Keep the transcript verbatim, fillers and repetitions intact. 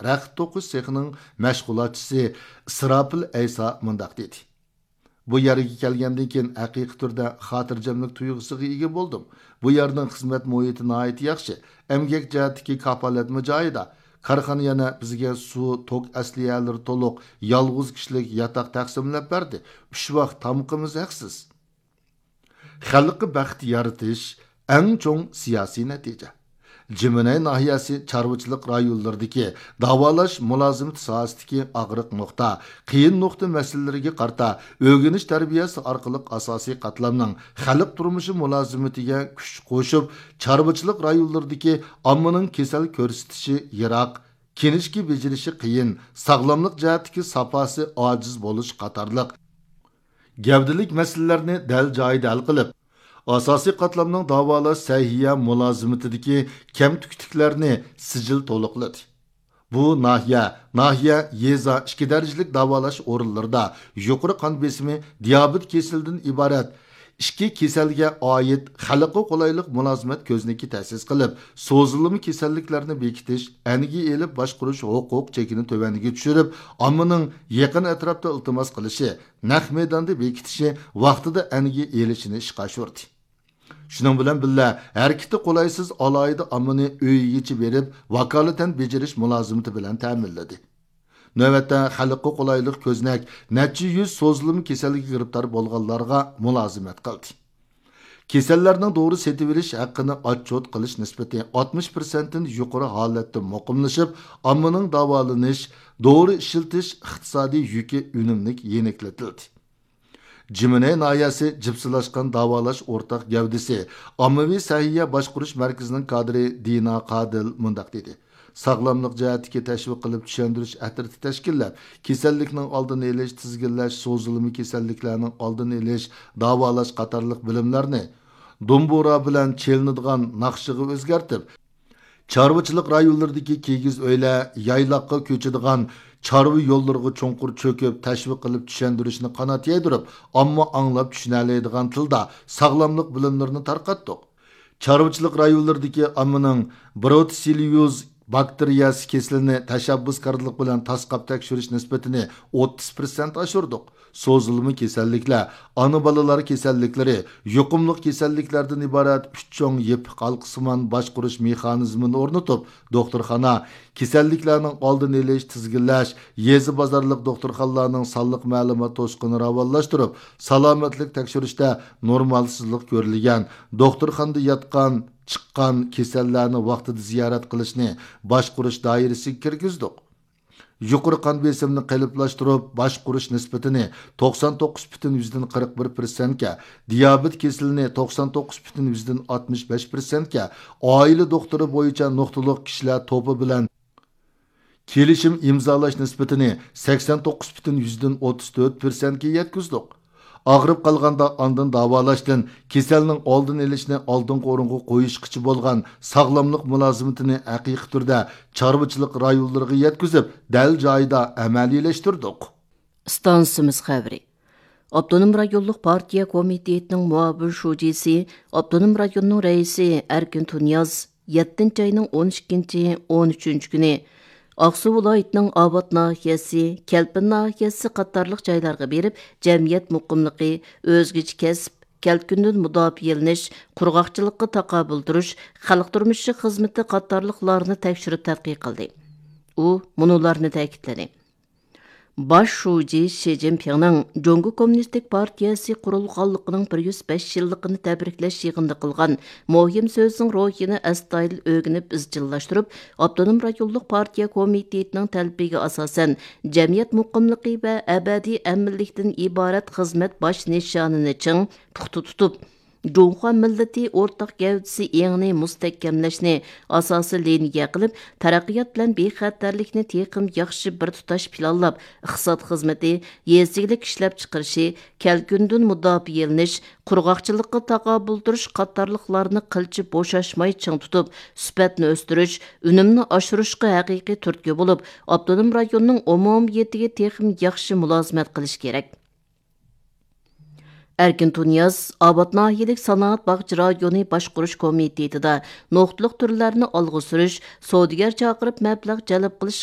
رەخت توقۇش سېخىنىڭ مەشغۇلاتچىسى ئىسراپىل ئەيسا مۇنداق دېدى: بۇ يەرگە كەلگەندىن كېيىن، ھەقىقىي تۈردە خاتىرجەملىك تۇيغۇسىغا ئىگە بولدۇم. بۇ يەرنىڭ خىزمەت مۇھىتى ناھايىتى ياخشى، ئەمگەك جەھەتتىكى كاپالەتمۇ جايىدا. كارخانا يەنە بىزگە سۇ، توك ئەسلىھەلىرى تولۇق، يالغۇز كىشىلىك ياتاق تەقسىملەپ بەردى. ئۈچ ۋاق تامىقىمىز ھەقسىز. خەلققە بەخت يارىتىش ئەڭ چوڭ سىياسىي نەتىجە. جىمىنەي ناھىيەسى چارۋىچىلىق رايونلىرىدىكى داۋالاش مۇلازىمىتى ساھەسىدىكى ئاغرىق نۇقتا، قىيىن نۇقتا مەسىلىلىرىگە قارىتا ئۆگىنىش تەربىيەسى ئارقىلىق ئاساسىي قاتلامنىڭ خەلق تۇرمۇشى مۇلازىمىتىگە كۈچ قوشۇپ، چارۋىچىلىق رايونلىرىدىكى ئاممىنىڭ كېسەل كۆرسىتىشى يىراق، كىنىشكا بېجىرىشى قىيىن، ساغلاملىق جەھەتتىكى ساپاسى ئاجىز بولۇش قاتارلىق گەۋدىلىك مەسىلىلەرنى دەل جايىدا ھەل قىلىپ، ئاساسىي قاتلامنىڭ داۋالاش سەھىيە مۇلازىمىتىدىكى كەمتۈكلۈكلەرنى سىجىل تولۇقلىدى. بۇ ناھىيە، ناھىيە، يېزا ئىككى دەرىجىلىك داۋالاش ئورۇنلىرىدا يۇقىرى قان بېسىمى، دىيابېت كېسىلىدىن ئىبارەت ئىككى كېسەلگە ئائىت خەلققە قولايلىق مۇلازىمەت كۆزنىكى تەسىس قىلىپ، سوزۇلما كېسەللىكلەرنى بېكىتىش، ئەنگە ئېلىپ باشقۇرۇش ھوقۇق چېكىنى تۆۋەنگە چۈشۈرۈپ، ئاممىنىڭ يېقىن ئەتراپتا ئىلتىماس قىلىشى، نەق مەيداندا بېكىتىشى، ۋاقتىدا ئەنگە ئېلىشىنى ئىشقا ئاشۇردى. شۇنىڭ بىلەن بىللە، ھەرىكىتى قولايسىز ئالاھىدە ئاممىنى ئۆيىگىچە بېرىپ، ۋاكالىتەن بېجىرىش مۇلازىمىتى بىلەن تەمىنلىدى. نۆۋەتتە خەلققە قولايلىق كۆزنەك نەچچە يۈز سوزۇلما كېسەلگە گىرىپتار بولغانلارغا مۇلازىمەت قىلدى. كېسەللەرنىڭ دورا سېتىۋېلىش ھەققىنى ئاتچوت قىلىش نىسبىتى ئاتمىش پىرسەنتتىن يۇقىرى ھالەتتە مۇقىملىشىپ، ئاممىنىڭ داۋالىنىش، دورا ئىشلىتىش ئىقتىسادىي يۈكى ئۈنۈملۈك يېنىكلىتىلدى. جىمىنەي ناھىيەسى جىپسىلاشقان داۋالاش ئورتاق گەۋدىسى ئاممىۋى سەھىيە باشقۇرۇش مەركىزىنىڭ كادىرى دىنا قادىل مۇنداق دېدى: ساغلاملىق جەھەتتىكى تەشۋىق قىلىپ چۈشەندۈرۈش ئەترىتى تەشكىللەپ، كېسەللىكنىڭ ئالدىنى ئېلىش، تىزگىنلەش، سوزۇلما كېسەللىكلەرنىڭ ئالدىنى ئېلىش، داۋالاش قاتارلىق بىلىملەرنى دومبۇرا بىلەن چېلىنىدىغان ناخشىغا ئۆزگەرتىپ، چارۋىچىلىق رايونلىرىدىكى كىگىز ئۆيلەر، يايلاققا كۆچىدىغان چارۋا يوللىرىغا چوڭقۇر چۆكۈپ، تەشۋىق قىلىپ چۈشەندۈرۈشنى قانات يايدۇرۇپ، ئامما ئاڭلاپ چۈشىنەلەيدىغان تىلدا ساغلاملىق بىلىملىرىنى تارقاتتۇق. چارۋىچىلىق رايونلىرىدىكى ئاممىنىڭ بروتسېلليوز باكتېرىيەسى كېسىلىنى تەشەببۇسكارلىق بىلەن تاسقاپ تەكشۈرۈش نىسبىتىنى ئوتتۇز پىرسەنت ئاشۇردۇق. سوزۇلما كېسەللىكلەر، ئانا بالىلار كېسەللىكلىرى، يۇقۇملۇق كېسەللىكلەردىن ئىبارەت ئۈچ چوڭ يېپىق ھالقىسىمان باشقۇرۇش مېخانىزمىنى ئورنىتىپ، دوختۇرخانا، كېسەللىكلەرنىڭ ئالدىنى ئېلىش، تىزگىنلەش، يېزا بازارلىق دوختۇرخانىلارنىڭ سانلىق مەلۇمات توسۇقىنى راۋانلاشتۇرۇپ، سالامەتلىك تەكشۈرۈشتە نورمالسىزلىق كۆرۈلگەن، دوختۇرخانىدا ياتقان، چىققان كېسەللەرنى ۋاقتىدا زىيارەت قىلىشنى باشقۇرۇش دائىرىسىگە كىرگۈزدۇق. يۇقىرى قان بېسىمىنى قېلىپلاشتۇرۇپ، باشقۇرۇش نىسبىتىنى توقسان توققۇز پۈتۈن يۈزدىن قىرىق بىر پىرسەنتكە، دىيابېت كېسىلىنى توقسان توققۇز پۈتۈن يۈزدىن ئاتمىش بەش پىرسەنتكە، ئائىلە دوختۇرى بويىچە نۇقتىلىق كىشىلەر توپى بىلەن كېلىشىم ئىمزالاش نىسبىتىنى سەكسەن توققۇز پۈتۈن يۈزدىن ئوتتۇز تۆت پىرسەنتكە يەتكۈزدۇق. ئاغرىپ قالغاندا ئاندىن داۋالاشتىن، كېسەلنىڭ ئالدىنى ئېلىشنى ئالدىنقى ئورۇنغا قويۇشقىچە بولغان ساغلاملىق مۇلازىمىتىنى ھەقىقىي تۈردە چارۋىچىلىق رايونلىرىغا يەتكۈزۈپ، دەل جايىدا ئەمەلىيلەشتۈردۇق. ئىستانسىمىز خەۋىرى. ئاپتونوم رايونلۇق پارتىيە كومىتېتىنىڭ مۇئاۋىن شۇجىسى، ئاپتونوم رايوننىڭ رەئىسى ئەركىن تۇنىياز يەتتىنچى ئاينىڭ ئون ئىككىنچى، ئون ئۈچىنچى كۈنى ئاقسۇ ۋىلايىتىنىڭ ئاۋات ناھىيەسى، كەلپىن ناھىيەسى قاتارلىق جايلارغا بېرىپ، جەمئىيەت مۇقىملىقى، ئۆزگىچە كەسىپ، كەلكۈندىن مۇداپىئەلىنىش، قۇرغاقچىلىققا تاقابىل تۇرۇش، خەلق تۇرمۇشى خىزمىتى قاتارلىقلارنى تەكشۈرۈپ تەتقىق قىلدى. ئۇ مۇنۇلارنى تەكىتلىدى. باش شۇجى شى جىنپىڭنىڭ جۇڭگو كوممۇنىستىك پارتىيەسى قۇرۇلغانلىقىنىڭ بىر يۈز بەش يىللىقىنى تەبرىكلەش يىغىنىدا قىلغان مۇھىم سۆزىنىڭ روھىنى ئەستايىدىل ئۆگىنىپ ئىزچىللاشتۇرۇپ، ئاپتونوم رايونلۇق پارتىيە كومىتېتىنىڭ تەلىپىگە ئاساسەن، جەمئىيەت مۇقىملىقى ۋە ئەبەدىي ئەمىنلىكتىن ئىبارەت خىزمەت باش نىشانىنى چىڭ، پۇختا تۇتۇپ، جۇڭخۇا مىللىتى ئورتاق گەۋدىسى ئېڭىنى مۇستەھكەملەشنى ئاساسىي لىنىيە قىلىپ، تەرەققىيات بىلەن بىخەتەرلىكنى تېخىمۇ ياخشى بىر تۇتاش پىلانلاپ، ئىقتىساد خىزمىتى، يېزا ئىگىلىك ئىشلەپچىقىرىشى، كەلكۈندىن مۇداپىئەلىنىش، قۇرغاقچىلىققا تاقابىل تۇرۇش قاتارلىقلارنى قىلچە بوشاشماي چىڭ تۇتۇپ، سۈپەتنى ئۆستۈرۈش، ئۈنۈمنى ئاشۇرۇشقا ھەقىقىي تۈرتكە بولۇپ، ئاپتونوم رايوننىڭ ئومۇمىيىتىگە تېخىمۇ ياخشى مۇلازىمەت قىلىش كېرەك. ئەركىن تۇنىياز ئاۋات ناھىيەلىك سانائەت باغچە رايونى باشقۇرۇش كومىتېتىدا نۇقتىلىق تۈرلەرنى ئالغا سۈرۈش، سودىگەر چاقىرىپ مەبلەغ جەلپ قىلىش